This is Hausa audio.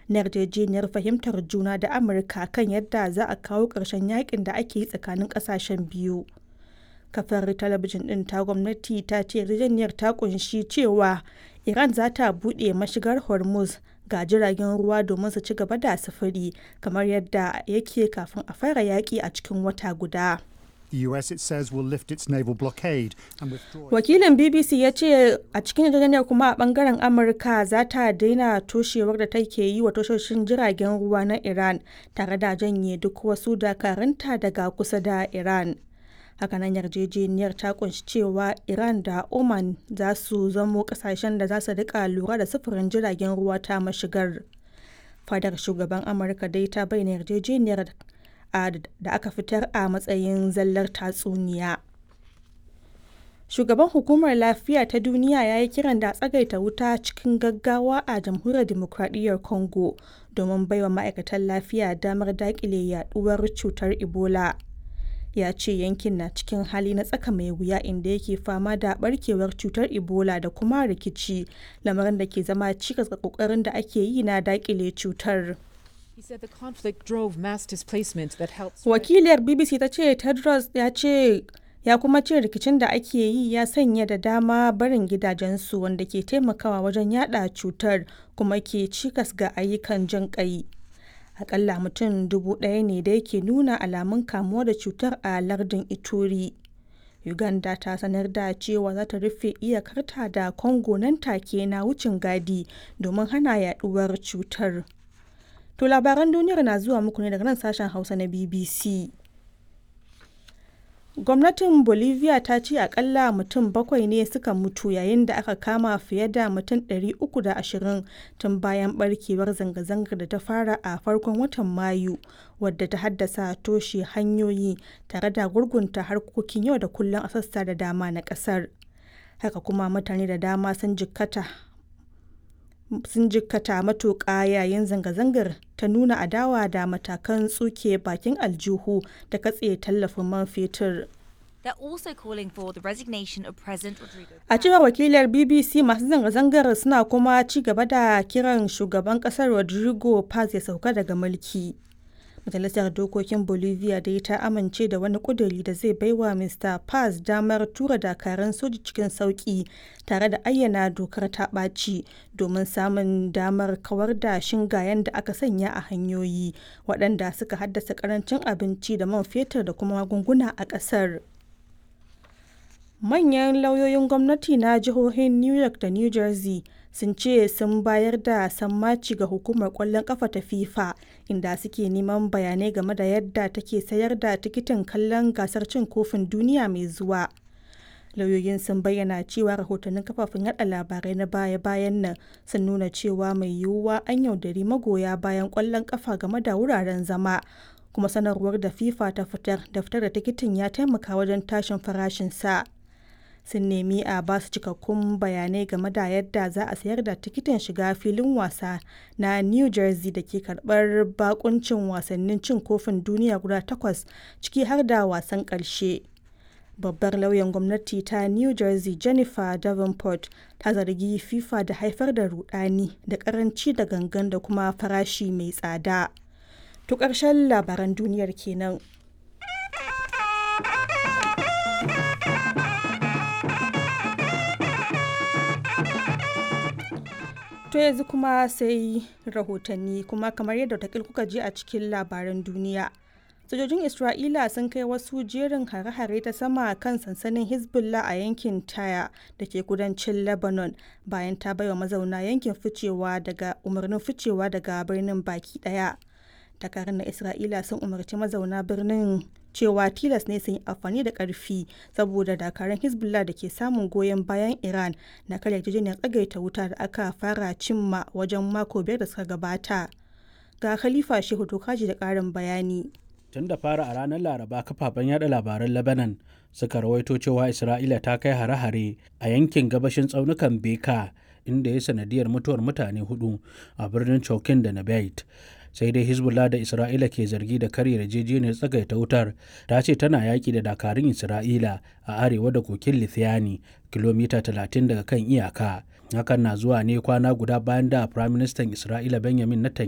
na yarjejeniyar fahimtar juna da Amurka kan yadda za a kawo ƙarshen yakin da ake yi tsakanin ƙasashen biyu. Kafar talabijin ɗin ta gwamnati ta ce yarjejeniyar ta kunshi cewa Iran za ta buɗe mashigar Hormuz ga jiragen ruwa domin su ci gaba da sufuri kamar yadda yake kafin a fara yaƙi a cikin wata guda. The US, it says, will lift its naval blockade and withdraw. Wakilin BBC ya ce a cikin yarjejeniyar kuma a bangaren Amurka za ta daina toshewar da take yi wa tashoshin jiragen ruwa na Iran tare da janye duk wasu dakarunta daga kusa da Iran. Hakanan yarjejeniyar ta kunshi cewa Iran da Oman za su zamo kasashen da za su rika lura da sufurin jiragen ruwa ta mashigar. Fadar shugaban Amurka dai ta bayyana yarjejeniyar da aka fitar a matsayin zallar tatsuniya. Shugaban Hukumar Lafiya ta Duniya ya yi kiran da a tsagaita wuta cikin gaggawa a Jamhuriyar Dimokradiyyar Congo domin baiwa ma'aikatan lafiya damar dakile yaduwar cutar Ebola. Ya ce yankin na cikin hali na tsaka mai wuya inda yake fama da barkewar cutar Ebola da kuma rikici, lamarin da ke zama cikas ga kokarin da ake yi na dakile cutar. He said the conflict drove mass displacement that helped. Wakiliyar BBC ta ce Tedros ya ce ya kuma ce rikicin da ake yi ya sanya da dama barin gidajensu wanda ke taimakawa wajen yada cutar kuma ke cikas ga ayyukan jin kai. Akalla mutum 1,000 ne da yake nuna alamun kamuwa da cutar a lardin Ituri. Uganda ta sanar da cewa za ta rufe iyakarta da Congo nan take na wucin gadi domin hana yaduwar cutar. To labaran duniyar na zuwa muku ne daga nan sashen Hausa na BBC. Gwamnatin Bolivia ta ce akalla mutum bakwai ne suka mutu yayin da aka kama fiye da mutum 320 tun bayan barkewar zanga-zangar da ta fara a farkon watan Mayu, wadda ta haddasa toshe hanyoyi tare da gurgunta harkokin yau da kullum a sassa da dama na kasar. Haka kuma mutane da dama sun jikkata matuƙa yayin zanga-zangar ta nuna adawa da matakan tsuke bakin aljihu da katse tallafin man fetur. They're also calling for the resignation of President Rodrigo. A cewar wakilar BBC, masu zanga-zangar suna kuma ci gaba da kiran shugaban kasar Rodrigo Paz ya sauka daga mulki. Majalisar Dokokin Bolivia dai ta amince da wani kuduri da zai baiwa Mr. Paz damar tura dakarun soji cikin sauki tare da ayyana dokar ta ɓaci domin samun damar kawar da shingayen da aka sanya a hanyoyi waɗanda suka haddasa ƙarancin abinci da man fetur da kuma magunguna a ƙasar. Manyan lauyoyin gwamnati na jihohin New York da New Jersey sun ce sun bayar da sammaci ga hukumar kwallon kafa ta FIFA inda suke neman bayanai game da yadda take sayar da tikitin kallon gasar cin kofin duniya mai zuwa. Lauyoyin sun bayyana cewa rahotannin kafafen yada labarai na baya-bayan nan sun nuna cewa mai yiwuwa an yaudari magoya bayan kwallon kafa game da wuraren zama. Kuma sanarwar da FIFA ta fitar da fitar da tikitin ya taimaka wajen tashin farashinsa. Sun nemi a ba su cikakkun bayanai game da yadda za a sayar da tikitin shiga filin wasa na New Jersey da ke karbar bakuncin wasannin cin kofin duniya guda takwas, ciki har da wasan karshe. Babbar lauyan gwamnati ta New Jersey, Jennifer Davenport, ta zargi FIFA da haifar da rudani da karanci da gangan da kuma farashi mai tsada. To ƙarshen labaran duniyar kenan. To yanzu kuma sai rahotanni kuma kamar yadda watakil kuka ji a cikin labaran duniya. Sojojin Isra'ila sun kai wasu jerin hare-hare ta sama kan sansanin Hezbollah a yankin Taya da ke kudancin Lebanon bayan ta baiwa mazauna yankin ficewa daga umarnin ficewa daga birnin baki daya. Dakarun na Isra'ila sun umarci mazauna birnin cewa tilas ne sun yi amfani da karfi saboda dakarun Hezbollah da ke samun goyon bayan Iran na karya yarjejeniyar tsagaita wuta da aka fara cimma wajen mako 5 da suka gabata. Ga Khalifa Shehu Tokaji da ƙarin bayani. Tun da fara a ranar Laraba, kafafen yada labaran Lebanon suka rawaito cewa Isra'ila ta kai hare-hare a yankin gabashin tsaunukan Beka, inda ya sanadiyar mutuwar mutane hudu a birnin Chokin da Nabait. Sai dai Hezbollah da Isra'ila ke zargi da karya yarjejeniyar tsagaita wutar ta ce tana yaƙi da dakarun Isra'ila a arewa da kokin Lithiani, kilomita 30 daga kan iyaka. Hakan na zuwa ne kwana guda bayan da Firaministan Isra'ila Benjamin Netanyahu